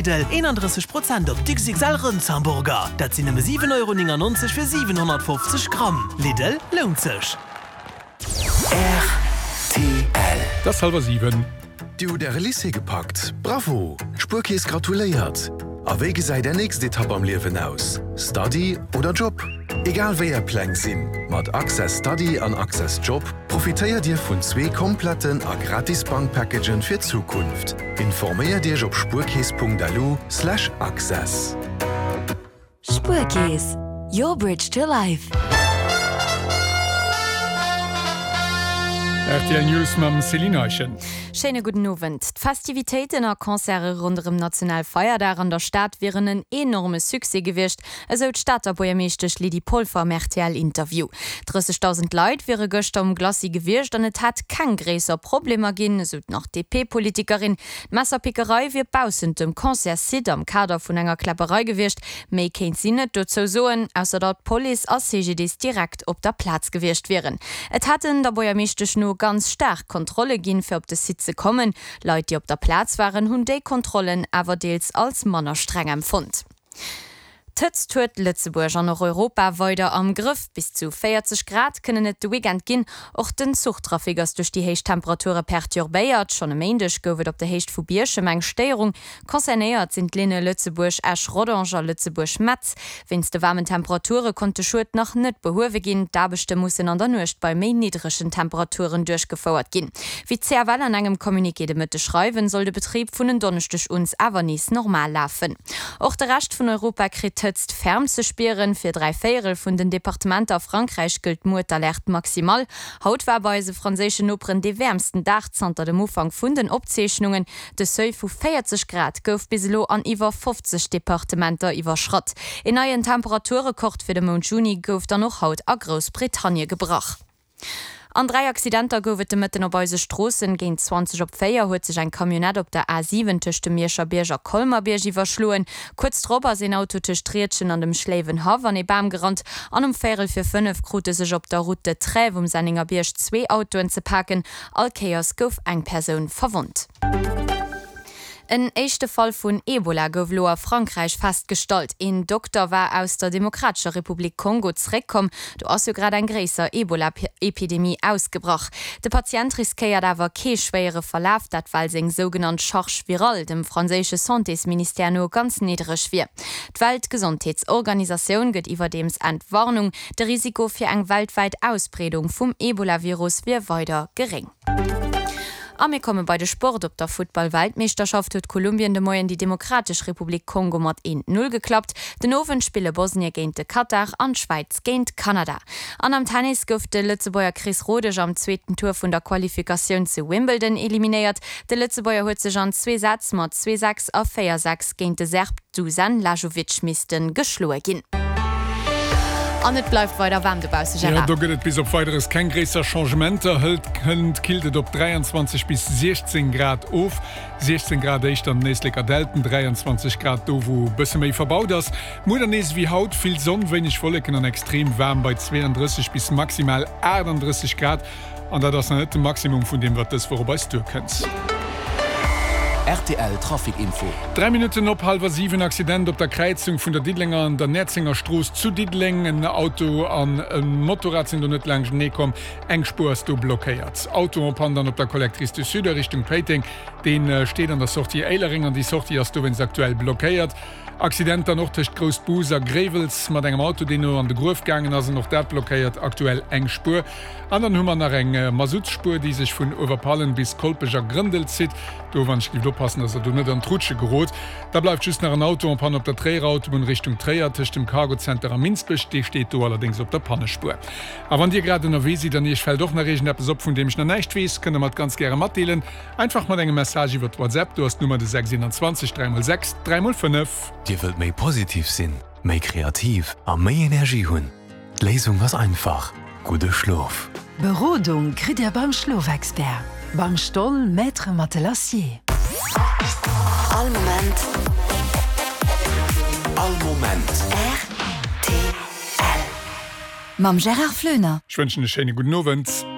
Lidl, 31 Prozent op d'XXL Rëndshamburger, dat sinn nëmme 7,99 Euro fir 750 Gramm. Lidl, lount sech! Rtl. Et ass hallwer 7. Dir hutt Äre Lycée gepackt? Bravo! D'Spuerkeess gratuléiert! A wéi gesäit Är nächst Etapp am Liewen aus? Study oder Job? Egal wéi Är Pläng sinn, mat Access Study an Access Job profitéiert Dir vun zwee kompletten a gratis Bankpackagen fir d'Zukunft. Informéiert Iech op spuerkeess.lu/access. Spuerkeess, your bridge to life. Rtl News mam Céline Eischen. Schéine gudden Owend. D'Festivitéiten a Concerte ronderëm Nationalfeierdag an der Stad wieren en enorme Succès gewiescht, esou d'Stater Buergermeeschtesch Lydie Polfer am RTL-Interview. 30.000 Leit wiere gëschter um Glacis gewiescht an et hätt keng gréisser Problemer ginn, esou nach d'DP-Politikerin. D'Messerpickerei wier baussent dem Concertssite am Kader vun enger Kläpperei gewiescht. Méi kéint si net dozou soen, ausser datt Police a CGDIS direkt op der Plaz gewiescht wieren. Et hätten der Buergermeeschtesch no ganz staark Kontrolle ginn, fir op de Site ze kommen. Leit, déi op der Plaz waren, hunn déi Kontrollen awer deels als manner streng empfonnt. D'Hëtzt huet Lëtzebuerg an och Europa weider am Grëff. Bis zu 40 Grad kënnen et de Weekend ginn. Och den Zuchtrafic ass duerch déi héich Temperature perturbéiert. Schonn e Méindeg gouf et op der Héicht vu Bierchem eng Stéierung. Concernéiert sinn d'Linne Lëtzebuerg-Esch-Rodange a Lëtzebuerg-Metz. Wéinst de waarmen Temperature konnt de Schued nach net behuewe ginn. D'Aarbechte mussen an der Nuecht bei méi niddregen Temperaturen duerchgefouert ginn. Wéi d'CFL an engem Communiqué de Mëtteg schreiwen, soll de Betrib vun en Donneschdeg uns awer nees normal lafen. Och de Rescht vun Europa kritt d'Hëtzt ferm ze spieren. Fir 3 Véierel vun den Departementer a Frankräich gëllt muer d'Alerte maximale. Haut war bei eise franséischen Noperen dee wäermsten Dag zanter dem Ufank vun den Opzeechnungen. De Seuil vu 40 Grad gouf bis elo an iwwer 50 Departementer iwwerschratt. Een neien Temperaturrekord fir de Mount Juni gouf dann och haut a Groussbritannie gebrach. An 3 Accidenter gouf et de Mëtten op eise Stroossen. Géint 20 op 4 huet sech eng Camionnette op der A 7 tëscht dem Mierscher Bierg a Colmer-Bierg iwwerschloen. Kuerz drop ass een Auto tëscht Riedgen an dem Schléiwenhaff an ee Bam gerannt. An um véierel vir 5 krute sech op der Route de Trèves um Senningerbierg zwee Autoen ze paken. All Kéiers gouf eng Persoun verwonnt. En éischte Fall vun Ebola gouf elo a Frankräich festgestallt. Een Dokter war aus der Demokratescher Republik Kongo zeréckkomm. Do ass jo grad eng gréisser Ebola-Epidemie ausgebrach. De Patient riskéiert awer kee schwéiere Verlaf, dat well seng sougenannt Charge virale dem franséische Santésministère no ganz niddereg wier. D'Weltgesondheetsorganisatioun gëtt iwwerdeems Entwarnung, de Risiko fir eng weltwäit Ausbreedung vum Ebola-Virus wier weider geréng. A mir komme bei de Sport. Op der Futtball-Weltmeeschterschaft huet Kolumbien de Moien déi Demokratesch Republik Kongo mat 1, 0 geklappt. Den Owend spille Bosnie géint de Katar an d'Schwäiz géint Kanada. An am Tennis gouf de Lëtzebuerger Chris Rodesch am zweeten Tour vun der Qualifikatioun zu Wimbledon eliminéiert. De Lëtzebuerger huet sech an zwee Sätz mat 2, 6 a 4, 6 géint de Serb Dusan Lajovic misste geschloe ginn. An et bleift weider waarm dobausse, Jo, Gérard. do gëtt et bis op Weideres keng gréisser Changementer. Hëlt hënt killt et op 23 bis 16 Grad of. 16 Grad éischter an den Éisleker Dälten, 23 Grad do wou e bësse méi verbaut ass. Muer dann nees ewéi haut, vill Sonn, wéineg Wolleken an extrem waarm bei 32 bis maximal 38 Grad. An dat ass nach net de Maximum vun deem, wat dës Woch op eis duerkënnt. Rtl Trafic Info. 3 Minutten op hallwer 7, Accident op der Kräizung vun der Diddelenger an der Näerzenger Strooss zu Diddeleng. En Auto an e Motorrad sinn do net laanschtenee komm. Eng Spuer ass do blockéiert. Auto en panne dann op der Collectrice du Sud a Richtung Péiteng. Dee steet an der Sortie Éilereng an déi Sortie ass dowéinst aktuell blockéiert. Accident dann och tëscht Groussbus a Gréiwels mat engem Auto, deen no an de Gruef gaangen ass an och dat blockéiert aktuell eng Spuer. An dann hu mer nach eng Masuttspuer, déi sech vun Uewerpallen bis Kolpech a Grëndel zitt. Do wann ech gift oppassen, dass der do net an d'Rutsche gerot. Da bleift just nach en Auto en panne op der Tréierer Autobunn Richtung Tréier tëscht dem Cargocenter a Minsbech. Dee steet do allerdéngs op der Pannespuer. A wann Dir grad ënnerwee sidd an Iech fält och nach iergendeppes op, vun deem ech nach näischt weess, kënnt der mer et ganz gäre matdeelen. Einfach mat engem Message iwwert WhatsApp, do ass d'Nummer de 6 21 3 x 6 3 x 5. Dir wëllt méi positiv sinn, méi kreativ a méi Energie hunn? D'Léisung ass einfach, gudde Schlof! Berodung kritt Dir beim Schlofexpert, beim Stoll Maître Matelassier. All Moment. All Moment. Rtl. Mam Gérard Floener. Ech wënschen e schéine gudden Owend.